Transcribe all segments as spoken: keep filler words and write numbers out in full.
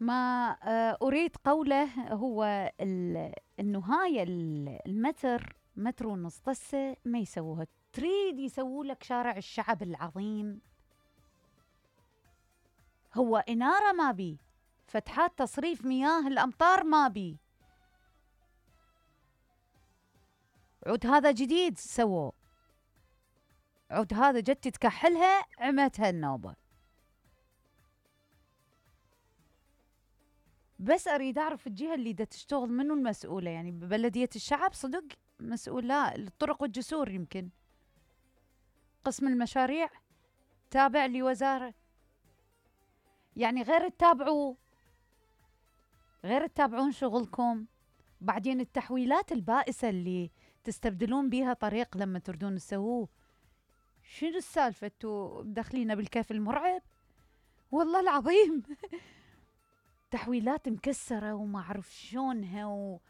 ما آه، أريد قوله هو ال- إنه هاي ال- المتر متر ونص طسة ما يسووها، تريد يسووا لك شارع الشعب العظيم. هو إنارة ما بي، فتحات تصريف مياه الأمطار ما بي، عود هذا جديد سووه، عود هذا جت تكحلها عمتها النوبة. بس أريد أعرف الجهة اللي دا تشتغل منو المسؤولة، يعني ببلدية الشعب صدق مسؤول؟ لا، الطرق والجسور يمكن، قسم المشاريع تابع لوزارة، يعني غير تتابعوا، غير تتابعون شغلكم. بعدين التحويلات البائسة اللي تستبدلون بيها طريق لما تردون تسووه، شنو السالفة؟ انتوا مدخلينا بالكيف المرعب والله العظيم. تحويلات مكسرة وما أعرف شلونها و...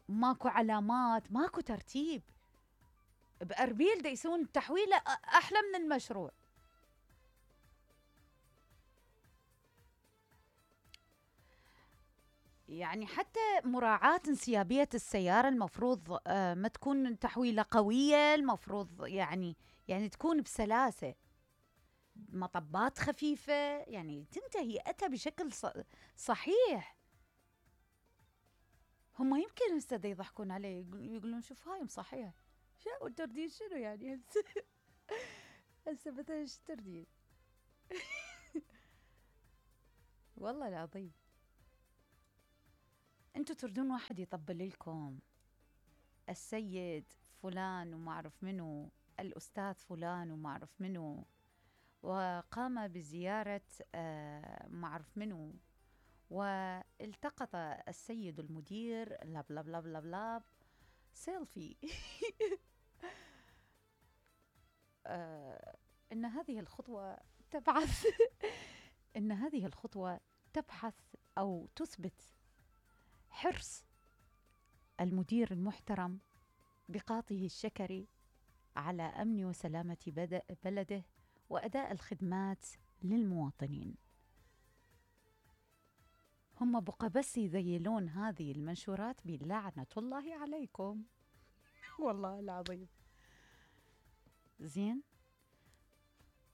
وماكو علامات، ماكو ترتيب. بأربيل دا يسوون تحويلة أحلى من المشروع. يعني حتى مراعاة انسيابية السيارة المفروض آه ما تكون تحويلة قوية، المفروض يعني يعني تكون بسلاسة، مطبات خفيفة، يعني تنتهي أتى بشكل صحيح. هم يمكن هسه يضحكون علي يقولون شوف هاي مصحية، شو تردين شنو يعني هسه؟ هسه مثلا ايش تردين؟ والله العظيم انتوا تردون واحد يطبل لكم السيد فلان وما اعرف منو، الاستاذ فلان وما اعرف منو، وقام بزيارة آه ما اعرف منو، والتقط السيد المدير لاب لاب لاب لاب لاب سيلفي. آه إن هذه الخطوة تبحث إن هذه الخطوة تبحث أو تثبت حرص المدير المحترم بقاطه الشكري على أمن وسلامة بلده وأداء الخدمات للمواطنين. هم بقى بس يذيلون هذه المنشورات بلعنة الله عليكم. والله العظيم زين.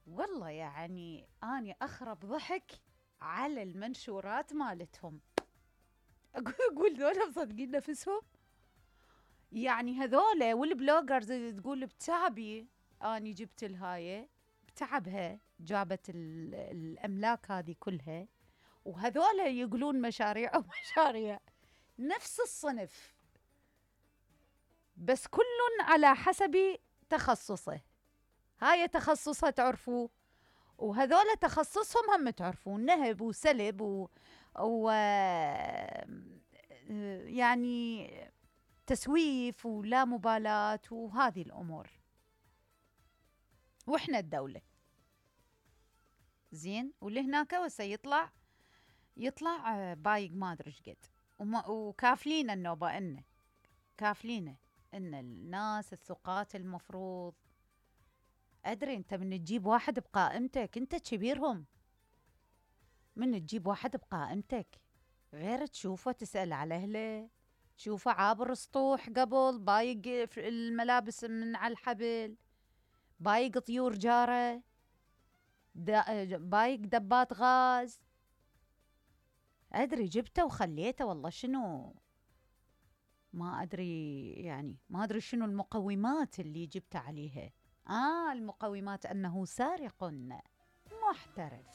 والله يعني أنا أخرب ضحك على المنشورات مالتهم. أقول ذولا مصدقين نفسهم؟ يعني هذولا والبلوجرز تقول بتعبي أني جبت الهاية، بتعبها جابت الأملاك هذه كلها، وهذولا يقولون مشاريع ومشاريع نفس الصنف، بس كل على حسب تخصصه. هاي تخصصها تعرفوا، وهذولا تخصصهم هم تعرفون، نهب وسلب و... و... يعني تسويف ولا مبالاة وهذه الأمور. وإحنا الدولة زين، واللي هناك وسا يطلع يطلع بايق ما أدري إيش قد، وكافلين النوبة إنه كافلين إن الناس الثقات المفروض. أدري أنت من تجيب واحد بقائمتك أنت كبيرهم، من تجيب واحد بقائمتك غير تشوفه تسأل على أهله، تشوفه عابر سطوح قبل بايق الملابس من على الحبل، بايق طيور جارة، بايق دبات غاز. أدري جبته وخليته والله شنو ما أدري، يعني ما أدري شنو المقومات اللي جبت عليها. آه المقومات أنه سارق محترف.